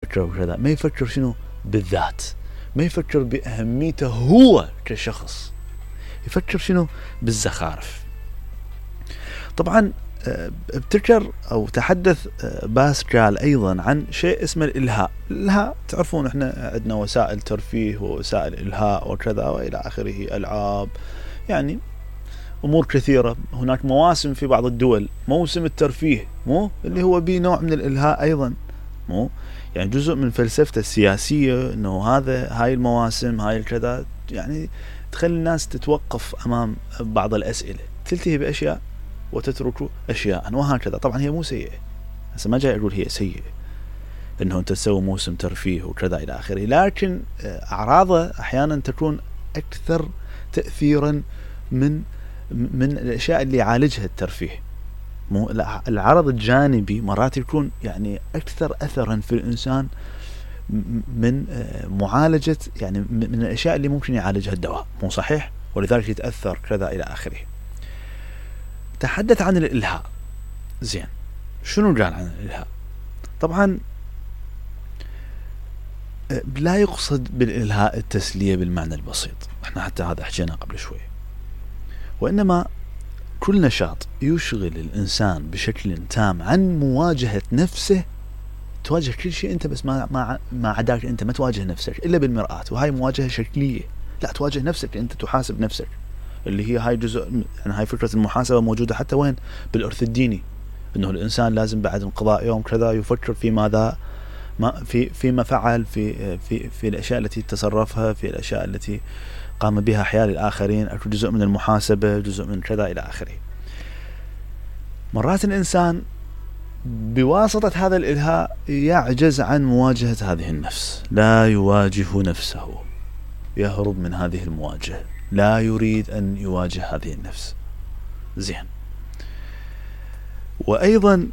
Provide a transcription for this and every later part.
يفكر بكذا، ما يفكر شنو بالذات، ما يفكر بأهميته هو كشخص، يفكر شنو بالزخارف. طبعا ابتكر أو تحدث باسكال أيضا عن شيء اسمه الإلهاء. الإلهاء تعرفون احنا عندنا وسائل ترفيه ووسائل إلهاء وكذا وإلى آخره، ألعاب، يعني أمور كثيرة. هناك مواسم في بعض الدول، موسم الترفيه مو اللي هو به نوع من الإلهاء أيضا، مو يعني جزء من فلسفته السياسية أنه هاي المواسم هاي الكذا يعني تخلي الناس تتوقف أمام بعض الأسئلة، تلتهي بأشياء وتترك أشياء وهكذا. طبعا هي مو سيئة، هسه ما جاي أقول هي سيئة أنه أنت تسوي موسم ترفيه وكذا إلى آخره، لكن أعراضه أحيانا تكون أكثر تأثيرا من الأشياء اللي يعالجها الترفيه. مو العرض الجانبي مرات يكون يعني أكثر أثرا في الإنسان من معالجة يعني من الأشياء اللي ممكن يعالجها الدواء، مو صحيح؟ ولذلك يتأثر كذا إلى آخره. تحدث عن الإلهاء. زين، شنو قال عن الإلهاء؟ طبعا لا يقصد بالإلهاء التسلية بالمعنى البسيط، احنا حتى هذا حكينا قبل شوي، وإنما كل نشاط يشغل الإنسان بشكل تام عن مواجهة نفسه. تواجه كل شيء أنت، بس ما عداك أنت ما تواجه نفسك إلا بالمرآة، وهاي مواجهة شكلية. لا، تواجه نفسك، أنت تحاسب نفسك، اللي هي هاي جزء يعني هاي فكرة المحاسبة موجودة حتى وين؟ بالإرث الديني، إنه الإنسان لازم بعد انقضاء يوم كذا يفكر في ماذا فيما فعل في الأشياء التي تصرفها، في الأشياء التي قام بها حيال الآخرين، أكو جزء من المحاسبة، جزء من كذا إلى آخره. مرات الإنسان بواسطة هذا الإلهاء يعجز عن مواجهة هذه النفس، لا يواجه نفسه، يهرب من هذه المواجهة، لا يريد أن يواجه هذه النفس. زين، وأيضا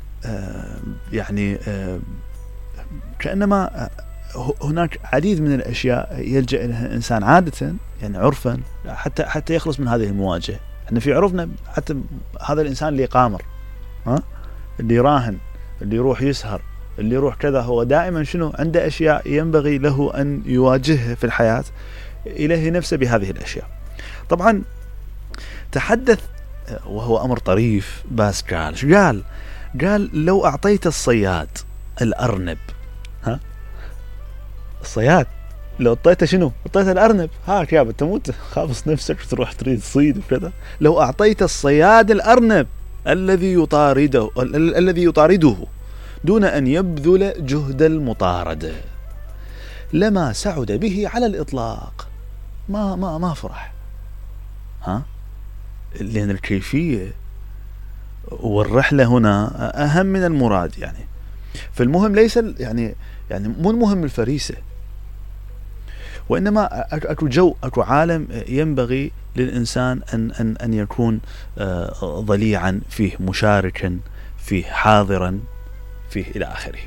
يعني كأنما هناك عديد من الأشياء يلجأ إليها الإنسان عادة، يعني عرفا، حتى يخلص من هذه المواجهة. احنا في عرفنا حتى هذا الإنسان اللي قامر، اللي يراهن، اللي يروح يسهر، اللي يروح كذا، هو دائما شنو عنده أشياء ينبغي له أن يواجهها في الحياة، إليه نفسه بهذه الأشياء. طبعا تحدث وهو أمر طريف باسكال، قال لو أعطيت الصياد الأرنب، الصياد لو اعطيته شنو؟ اعطيته الأرنب، هاك يابا تموت خابص نفسك تروح تريد تصيد وكذا. لو أعطيت الصياد الأرنب الذي يطارده دون أن يبذل جهد المطاردة لما سعد به على الإطلاق. ما فرح، لأن الكيفية والرحلة هنا أهم من المراد. يعني فالمهم ليس يعني مو المهم الفريسة، وإنما أكو عالم ينبغي للإنسان أن يكون ضليعا فيه، مشاركا فيه، حاضرا فيه إلى آخره.